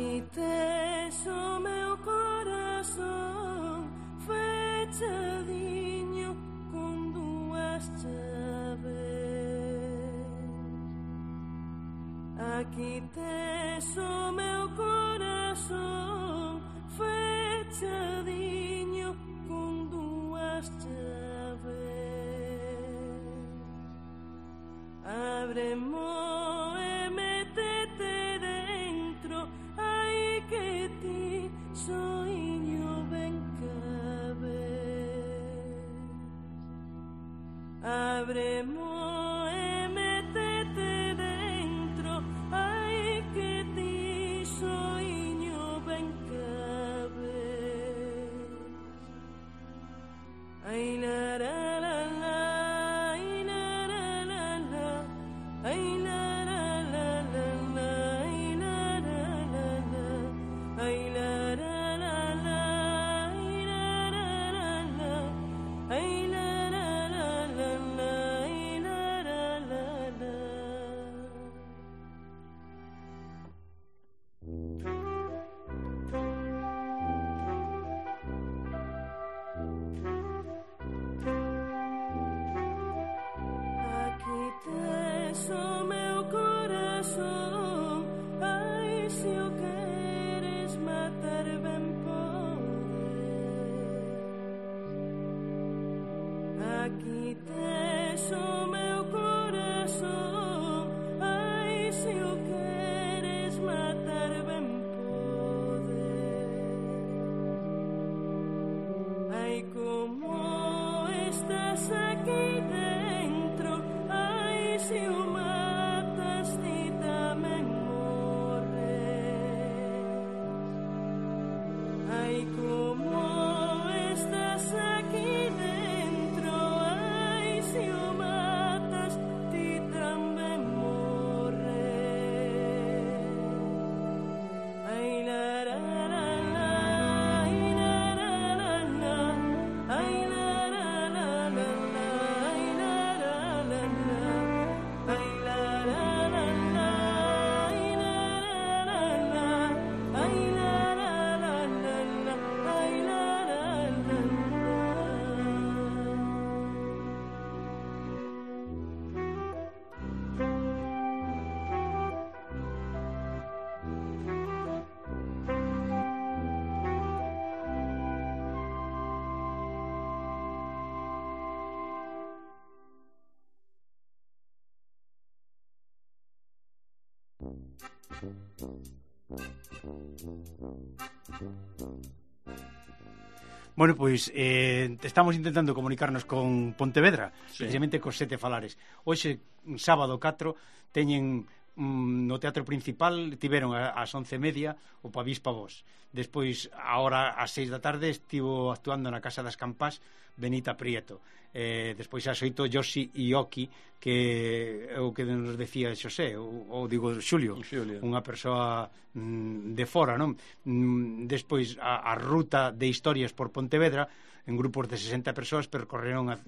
Aquí tes o meu corazón fechadiño con dúas chaves. Aquí tes o meu corazón fechadiño con dúas chaves. Ábremo e métete dentro, ai que ti soiño ben cabe. Ábremo e métete dentro, ai que ti soiño ben cabe. Ai la la la la. Aquí tes o meu corazón, ai, se o queres matar ben podes. Ai, como estás aquí dentro, ai, se o matas ti tamén morres. Ai, como estás aquí dentro, se o matas, ti tamén morres. Ai la la la la, ai la la la la, ai la la la la la, ai la la la la, ai la la la la, ai la la la la, ai la la la la, ai la la la la. Bueno, pois estamos intentando comunicarnos con Pontevedra, sí, precisamente cos Sete Falares. Hoxe, sábado 4, teñen no Teatro Principal, tiveron ás 11:30 o Pavís Pavós. Despois, ahora ás 6 da tarde, estivo actuando na Casa das Campás Benita Prieto. Despois ás 8, Yoshi Ioki, que é o que nos decía Xosé, ou digo Xulio, unha persoa de fora, non? Despois a ruta de historias por Pontevedra, en grupos de 60 persoas percorreron a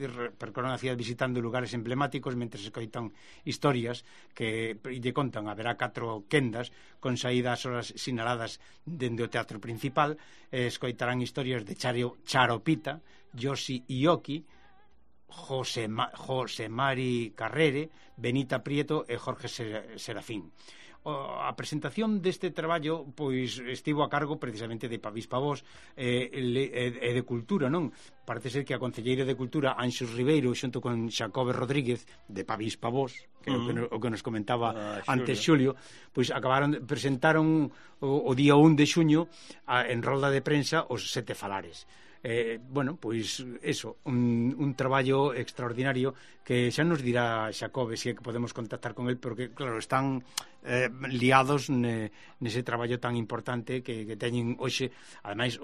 cidade visitando lugares emblemáticos mentre se coitan historias que lle contan. Haberá 4 quendas con saídas ás horas sinaladas dende o Teatro Principal. Escoitarán historias de Charopita, Yoshi Ioki, José Mari Carrere, Benita Prieto e Jorge Serafín. A presentación deste traballo pois estivo a cargo precisamente de Pavís Pavós e de Cultura, non? Parece ser que a concelleira de Cultura, Anxos Ribeiro, xunto con Xacobe Rodríguez de Pavís Pavós, que é o que nos comentaba antes Xulio, pois presentaron o día 1 de xuño en rolda de prensa os Sete Falares. Bueno, pois eso, un traballo extraordinario que xa nos dirá Xacobe se é que podemos contactar con el, porque claro, están liados nese traballo tan importante que teñen hoxe. Ademais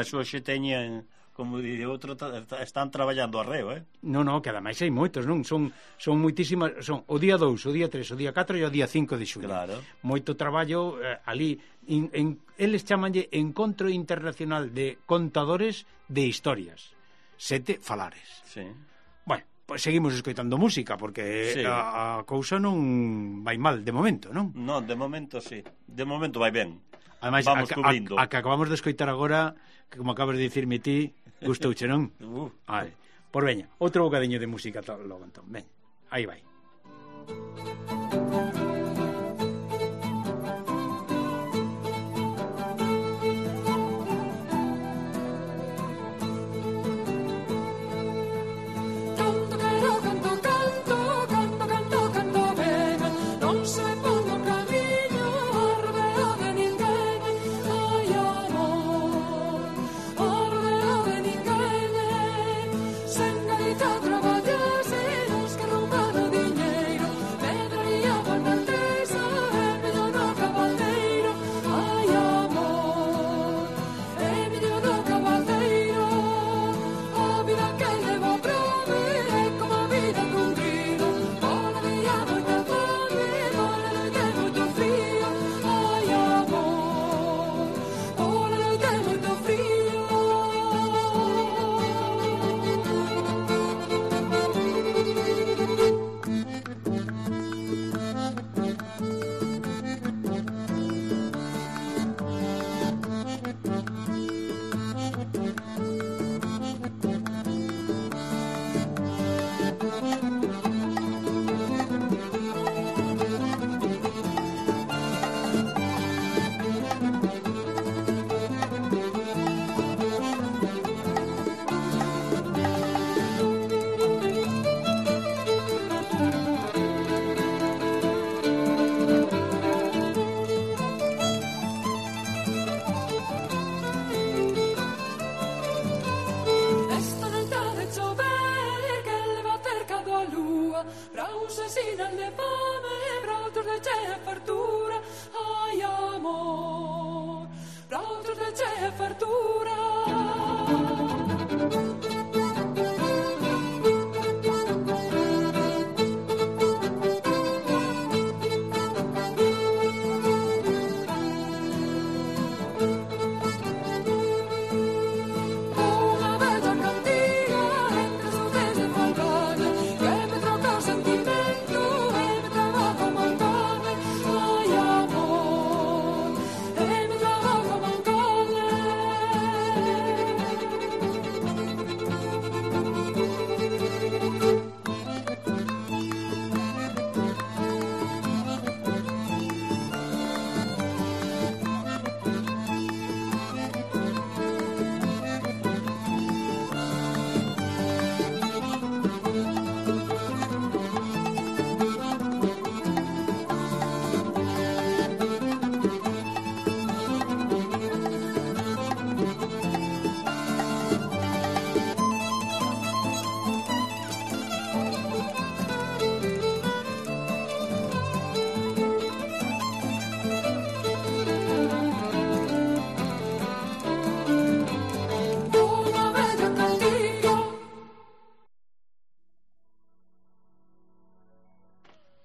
hoxe teñen, como di outro, están traballando arreo, Non, que ademais hai moitos, non? Son moitísimas, son o día 2, o día 3, o día 4 e o día 5 de xuño. Claro. Moito traballo ali. Eles chamanlle Encontro Internacional de Contadores de Historias. Sete Falares. Sí. Bueno, pois seguimos escoitando música, porque sí, a cousa non vai mal de momento, non? Non, de momento sí. De momento vai ben. Ademais, vamos cubrindo. a que acabamos de escoitar agora, que como acabas de dicirme ti, gustouche, non? Vale. Por veña, outro bocadiño de música logo, entón. Veña, aí vai.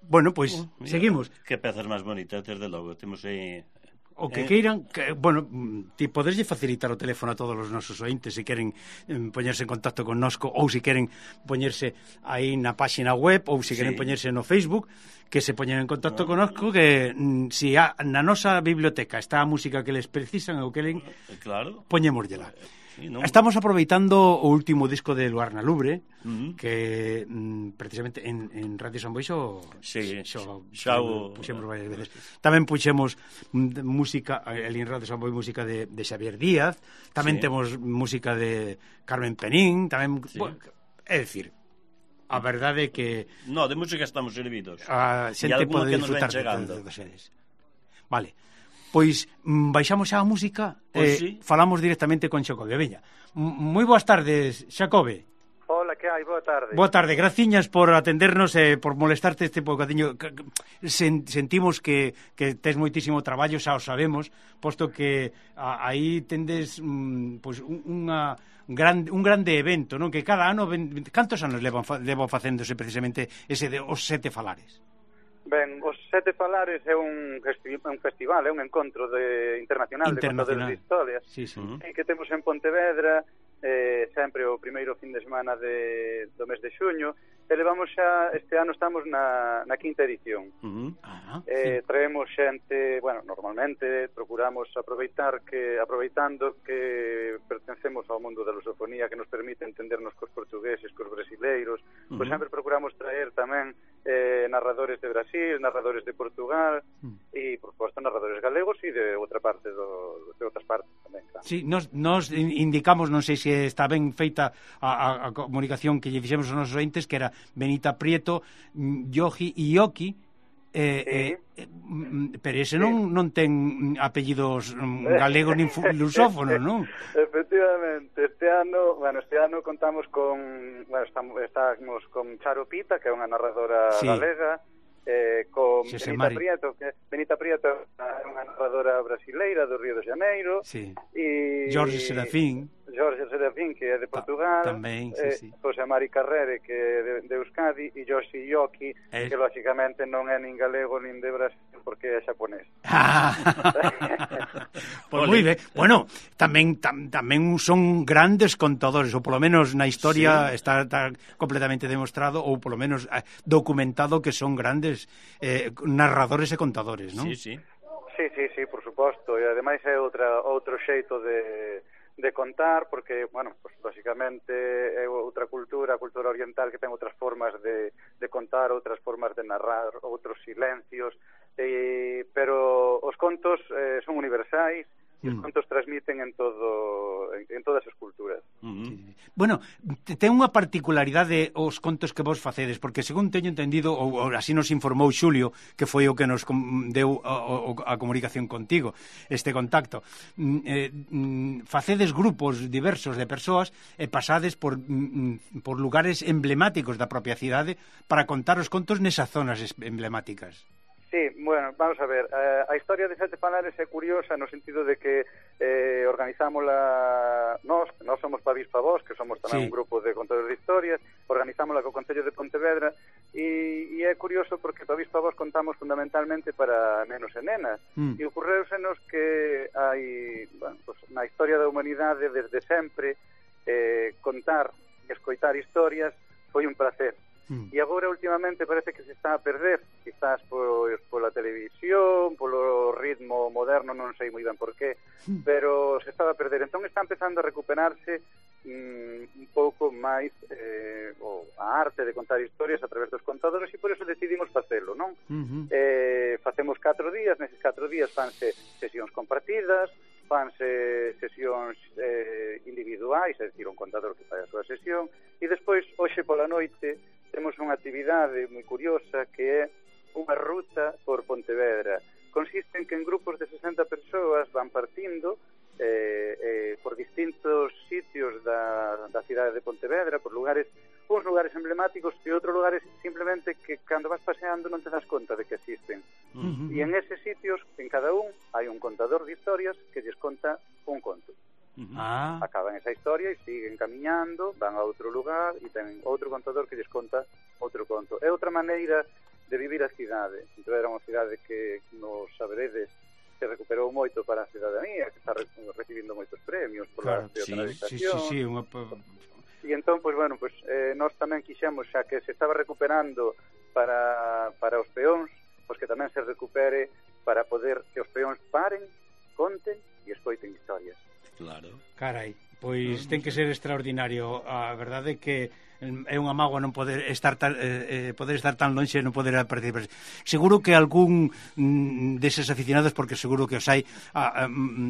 Bueno, pois, seguimos. Que pezas máis bonitas, desde logo. Temos aí... O que queiran, bueno, ti podeslle facilitar o teléfono a todos os nosos ointes se queren poñerse en contacto connosco ou se queren poñerse aí na páxina web ou se queren poñerse no Facebook, que se poñen en contacto connosco, que si na nosa biblioteca está a música que les precisan ou que len, claro, poñémoslla. Sí, ¿no? Estamos aproveitando o último disco de Luarna Lubre, que precisamente en Radio San Boixo puxemos varias veces. Tamén puxemos música, en Radio San Boi, música de Xavier Díaz, tamén temos música de Carmen Penín, tamén, é dicir, a verdade é que... No, de música estamos servidos. A xente pode disfrutar de sedes. Vale. Pois baixamos xa a música e falamos directamente con Xacobe. Veña, moi boas tardes, Xacobe. Hola, que hai? Boa tarde. Boa tarde, graciñas por atendernos e por molestarte este bocadiño. Sentimos que tes moitísimo traballo, xa o sabemos, posto que aí tendes pois un grande evento, non? Que cada ano, cantos anos levan facéndose precisamente ese de os Sete Falares? Ben, os Sete Falares é un festival, é un encontro internacional de contadores de historias, que temos en Pontevedra sempre o primeiro fin de semana do mes de xuño, levamos xa, este ano estamos na quinta edición. Traemos xente, bueno, normalmente procuramos aproveitando que pertencemos ao mundo da lusofonía, que nos permite entendernos cos portugueses, cos brasileiros, pois sempre procuramos traer tamén narradores de Brasil, narradores de Portugal e, por suposto, narradores galegos e de outras partes tamén. Claro. Sí, nos indicamos, non sei se está ben feita a comunicación que lle fixemos aos nosos ointes, que era Benita Prieto, Yogi e Ioki, pero ese non ten apellidos galegos nin lusófonos, non? Efectivamente, este ano contamos estamos con Charo Pita, que é unha narradora galega, con Benita Prieto é unha narradora brasileira do Río de Janeiro, e Jorge Serafín, que é de Portugal, tamén, José Mari Carrere, que é de Euskadi, e Yoshi Yoki, que lógicamente non é nin galego nin de Brasil, porque é xaponés. Pois moi ben. Bueno, tamén son grandes contadores, ou polo menos na historia está completamente demostrado, ou polo menos documentado, que son grandes narradores e contadores, non? Sí, por suposto, e ademais é outro xeito de contar, porque, bueno, pues, lógicamente é outra cultura, a cultura oriental, que ten outras formas de contar, outras formas de narrar, outros silencios, pero os contos son universais, e os contos transmiten en todas as culturas. Bueno, ten unha particularidade os contos que vos facedes, porque según teño entendido, ou así nos informou Xulio, que foi o que nos deu a comunicación contigo, este contacto, facedes grupos diversos de persoas e pasades por lugares emblemáticos da propia cidade para contar os contos nesas zonas emblemáticas. Sí, bueno, vamos a ver, a historia de Sete Falares é curiosa no sentido de que organizámola nós somos Pavís Pavós, que somos tamén un grupo de contadores de historias, organizámola co Concello de Pontevedra, e é curioso porque Pavís Pavós contamos fundamentalmente para nenos e nenas, e ocorreusenos que hai, bueno, pues, na historia da humanidade desde sempre contar e escoitar historias foi un placer. E agora últimamente parece que se está a perder, quizás pola televisión, polo ritmo moderno, non sei moi ben por qué, pero se está a perder. Entón está empezando a recuperarse un pouco máis a arte de contar historias a través dos contadores, e por eso decidimos facelo, non? Facemos 4 días, neses 4 días fanse sesións compartidas, fanse sesións individuais, é dicir, un contador que fai a súa sesión, e despois, hoxe pola noite, temos unha actividade moi curiosa que é unha ruta por Pontevedra. Consiste en que en grupos de 60 persoas van partindo por distintos sitios da cidade de Pontevedra, por uns lugares emblemáticos e outros lugares simplemente que cando vas paseando non te das conta de que existen. E en eses sitios, en cada un, hai un contador de historias que lles conta un conto. Acaban esa historia e siguen camiñando, van a outro lugar e ten outro contador que lles conta outro conto. É outra maneira de vivir a cidade. Entón era unha cidade que nos saberedes se recuperou moito para a cidadanía, que está recibindo moitos premios por a peatonalización. E entón, pois, bueno, pois, nós tamén quixemos, xa que se estaba recuperando para os peóns, pois que tamén se recupere para poder que os peóns paren, conten e escoiten historias. Claro. Carai, pois ten que ser extraordinario. A verdade é que é unha mágoa non poder estar tan lonxe e non poder participar. Seguro que algún deses aficionados, porque seguro que os hai,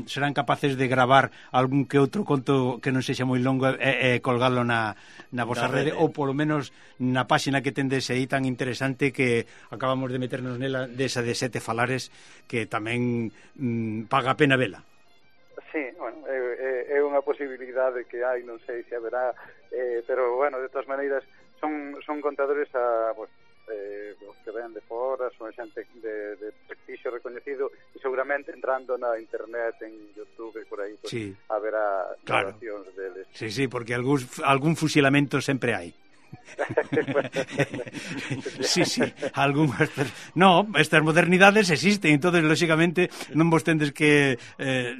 serán capaces de gravar algún que outro conto que non sexa moi longo e colgalo na vosa rede, ou polo menos na páxina que tendes aí tan interesante que acabamos de meternos nela, desa de Sete Falares, que tamén paga a pena vela. Sí, bueno, é unha posibilidade que hai, non sei se haberá, pero, bueno, de todas maneiras son contadores que ven de fora, son xente de prestixio reconhecido, e seguramente entrando na internet, en YouTube e por aí, pues, haberá grabacións deles. Sí, porque algún fusilamento sempre hai. Sí, algunhas... No, estas modernidades existen, entonces, lóxicamente, non vos tendes que,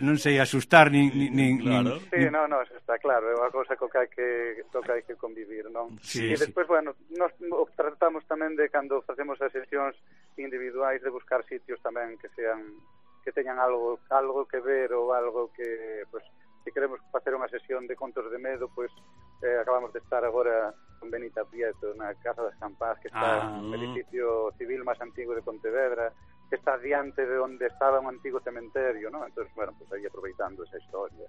non sei, asustar, nin claro. Sí, no, eso está claro, é unha cousa co que hai que convivir, non? Sí, e despois, bueno, nos tratamos tamén de, cando facemos as sesións individuais, de buscar sitios tamén que teñan algo que ver ou algo que, pues, se queremos facer unha sesión de contos de medo, pois acabamos de estar agora con Benita Prieto na Casa das Campás, que está no edificio civil máis antigo de Pontevedra, que está diante de onde estaba un antigo cementerio, ¿no? Entonces, bueno, pues aí aproveitando esa historia.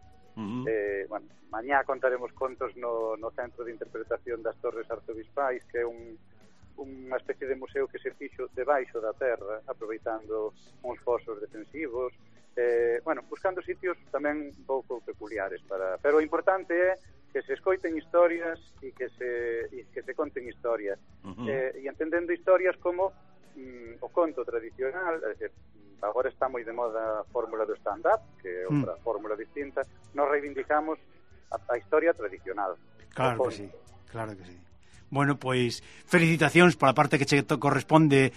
Bueno, mañá contaremos contos no Centro de Interpretación das Torres Arzobispais, que é unha especie de museo que se fixo debaixo da terra, aproveitando uns fosos defensivos, bueno, buscando sitios tamén un pouco peculiares pero o importante é que se escoiten historias e que se conten historias e entendendo historias como o conto tradicional. Agora está moi de moda a fórmula do stand-up, que é outra fórmula distinta. Nos reivindicamos a historia tradicional. Claro que sí, claro que sí. Bueno, pois, felicitacións pola parte que che corresponde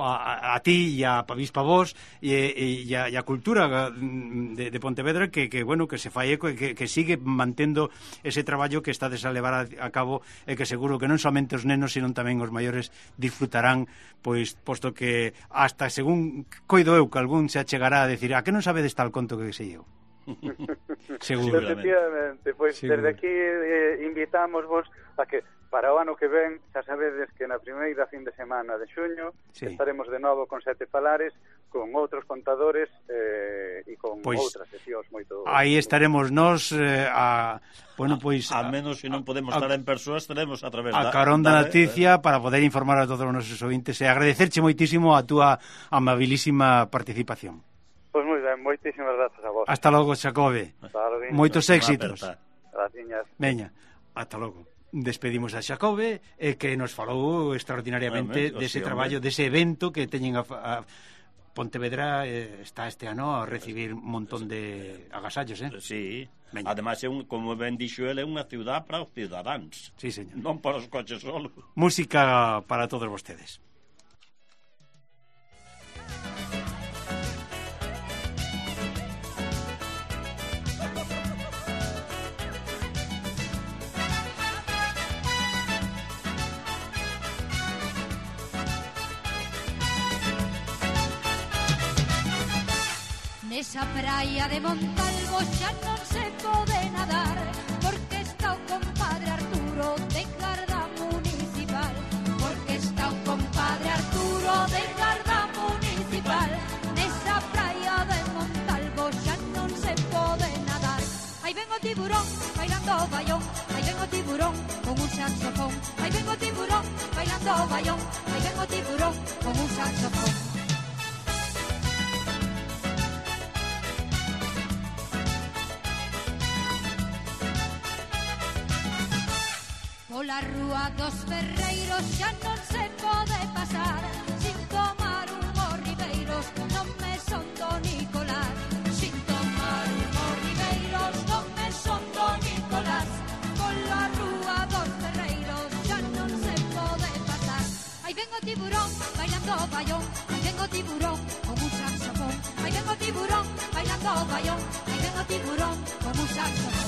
a ti e a Avispa Voz e a cultura de Pontevedra que bueno, que se fai eco e que sigue mantendo ese traballo que estades a levar a cabo e que seguro que non somente os nenos, sino tamén os maiores disfrutarán, pois, posto que hasta según coido eu que algún se achegará a decir, a que non sabedes tal conto que sei eu? Seguro. Efectivamente, pois desde aquí invitamos vos a que para o ano que ven, xa sabedes que na primeira fin de semana de xuño estaremos de novo con 7 falares, con outros contadores e con outras sesións moito... Aí estaremos nós bueno, pois... Al menos se non podemos estar en persoa, estaremos a través a carón da noticia para poder informar a todos os nosos ouvintes e agradecerche moitísimo a túa amabilísima participación. Pois moi ben, moitísimas grazas a vos. Hasta logo, Xacobe. Moitos éxitos. Graciñas. Veña, hasta logo. Despedimos a Xacobe que nos falou extraordinariamente dese traballo, dese evento que teñen a Pontevedra. Está este ano a recibir un montón de agasallos, Sí, ademais, como ben dixo ele, é unha ciudad para os cidadáns. Sí, señor. Non para os coches solo. Música para todos vostedes. Nesa praia de Montalvo xa non se pode nadar, porque está o compadre Arturo de Garda Municipal, porque está o compadre Arturo de Garda Municipal. Nesa praia de Montalvo xa non se pode nadar. Aí ven o tiburón bailando o baión, aí ven o tiburón con un saxofón, aí ven o tiburón bailando o baión, aí ven o tiburón con un saxofón. Pola rúa dos Ferreiros xa non se pode pasar sin tomar unhos ribeiros no mesón do Nicolás. Sin tomar unhos ribeiros no mesón do Nicolás. Pola rúa dos Ferreiros xa non se pode pasar. Aí ven o tiburón bailando o baión, aí ven o tiburón con un saxofón, aí ven o tiburón bailando o baión, aí ven o tiburón con un saxofón.